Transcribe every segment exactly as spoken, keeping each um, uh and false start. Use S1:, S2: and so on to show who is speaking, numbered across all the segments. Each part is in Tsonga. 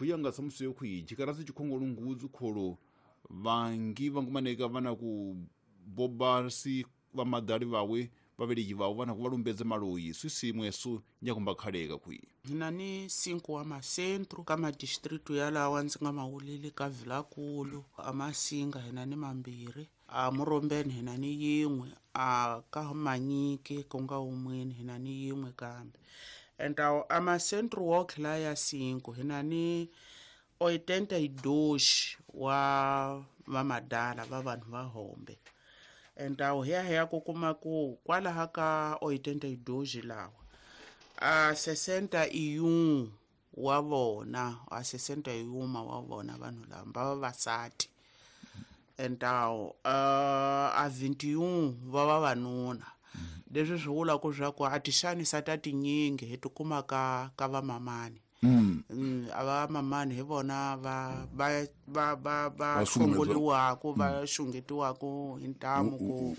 S1: Khuyanga samusi yo khuyi jikarasi chikhongolo ngudzu kholo vangi vangumaneka vana ku bobasi va madali vawe vaveleki vavo vana ku valumbedza maloyi swisimwesu nyakumba khaleka khuyi
S2: hina ni cinco wa macentro ka madistritu yalawa ndzi nga mawuleli ka Vilakulu a Masinga hina ni mambirhi a Murombeni hina ni yin'we a ka Manyike ku nga wun'weni hina ni yin'we kambe então a macentro woke la ya cinco hina ni oitenta e dois wa vamadala va vanhu va hombe então hi ya hi ya ku kuma ku kwalaha ka oitenta e dois lawa a sessenta e um wa vona a sessenta e um wa vona vanhu lava va vavasati então a vinte e um va vavanuna leswi swi vulaka swa ku a ti xanisa ta tinyingi hi tikuma ka ka vamamani mm. A va mamani hi vona va va va va va hlongoliwaka va xungetiwaka hi ntamu ku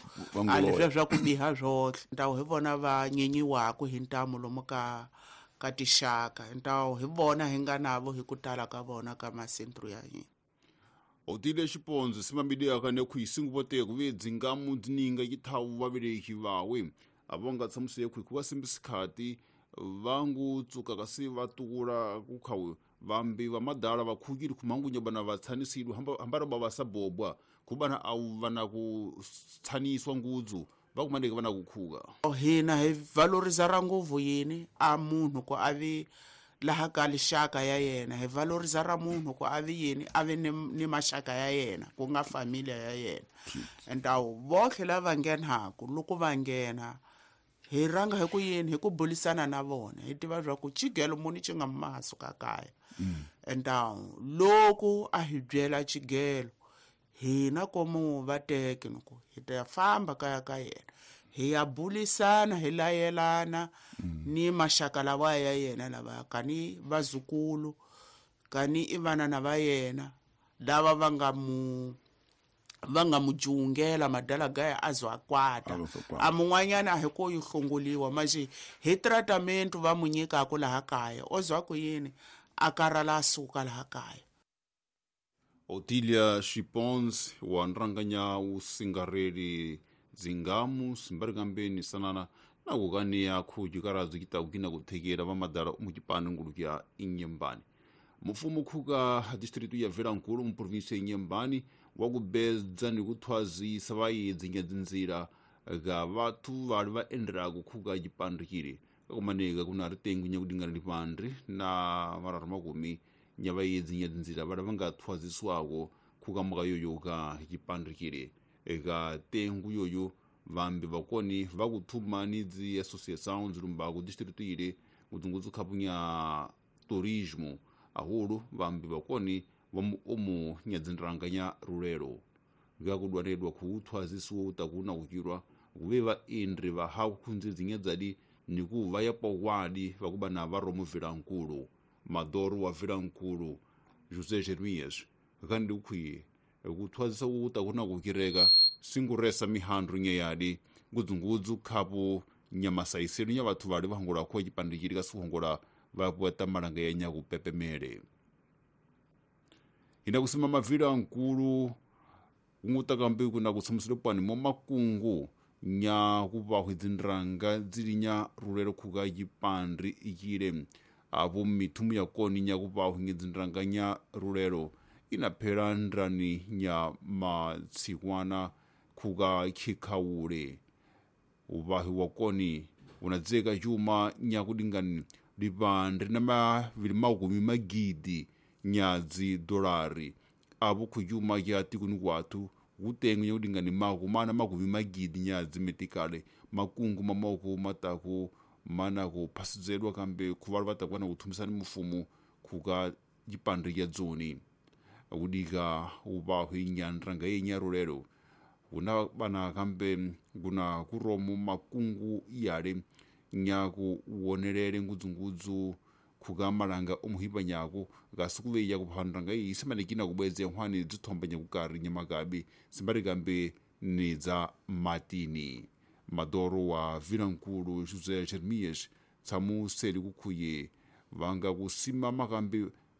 S2: a leswiya swa ku biha swohle ntawu hi vona va nyenyiwaka hi ntamu lomu ka ka tixaka ntawu hi vona hi nga navo hi ku tala ka vona ka masentro ya hina.
S1: Otile Xipondzo simambileaka ne khuyisingu vote ku ve dzingamu dzininga yithawu vaveleki vawe avonga tsamusi khuyi kuva simbisikati vangu tsuka kasi va tukula ku khawu vambi va madala va khukile khumangunya bana va tshanisile hamba hamba ba va sabobwa kubana awu vana ku tshaniswa ngudzu va kumaneke vana ku khuka
S2: hina hi valorisa ra nguvu yini a munhu ku avi laha ka lixaka ya yena hi valorisa ra munhu ku avi yini avi ni, ni maxaka ya yena ku nga familia ya yena então votlhe lava nghenaku loko va nghena hi ranga hi ku yini hi ku bulisana na vona hi tiva swa ku xigelo muni xi nga maso ka kaya então loko a hi byela xigelo hina komu va teke loko hi ta famba kaya ka yena hi ya bulisana hi layelana ni maxaka lawa ya yena lava kani vazukulu kani i vana na va yena lava va nga mu va nga mu jungela madala gaya a zwa kwata a mun'wanyana a hi ko yi hlongoliwa manje hi tratament va mu nyikaka laha kaya o zwa ku yini a karhala a suka laha kaya.
S1: Otilia Xipons wa nranganya usingareli dzingamu simbarikambeni sanana na kukaniya khuji karadzo kitakukina kuthekela va madala umuchipani nguluki ya Inyembani. Mufumo khuka distritu ya Vilankulu mu provinsi ya Inyembani wa kubedza ni kuthwazisa vayedzi nyadzinzira ga vathu vali va endlaku khuka chipandukile kakumaneka kuna ritengu nyakudingana lipandri na mararu makumi nya vayedzi nyadzinzira vali va nga thwaziswako khuka maka yoyo ka chipandukile eka tengu yoyo vambi vakoni va kuthuma ni dzi associação dzilumbaku distritu ile ngudzungudzu khapunya turismo ahulu vambi vakoni va omu nyadzinranganya rulelo vyakudwanedwa kuuthwazisiwa utakuna kuchirwa kuve va endri va ha khunzi dzinyadzadi ni ku va ya pawadi vakuba na va romu Vilankulu Madoro wa Vilankulu José Jeremias kandi ukwiye kuthwazisa utakuna kukireka singuresa mihandru nyeyadi ngudzungudzu khapu nyamasaiselu nya vathu vali vahongola kho chipandikiri kasuhongola vakueta malanga ya nyakupepemele. Ina kusimama Vilankulu kungutakambe kuna kutsamusile pwani mo makungu nya kuvahu dzinranga dzili nya rulelo khuka chipandri ichile apo mithumu ya koni nya kuvahu dzinranga nya rulelo inaphela ndrani nya matsikwana khuka khikhawule uvahi wa koni unadzeka chuma nya kudingani lipandri na mavili makumi magidi nyadzi dolari apo khujuma ya tikuni kwathu kutengu nyakudingani maku mana makumi magidi nyadzi metikale makungu mamoko mataku mana kuphasizedwa kambe khuvalu vatakwana kuthumisani mufumu khuka chipandri ya dzoni kudika uvahu inyanranga yenyarulelo kuna bana kambe kuna kuromo makungu yale nyaku wonelele ngudzungudzu khukamalanga omuhipa nyako kasikuveya kuphandanga iyi simanekina kubweze nkhwani dzithomba nyakukari nyamakabi simbarikambe ni dza matini. Madoro wa Vilankulu José Jeremias tsamuseli kukhuye vanga kusima makambe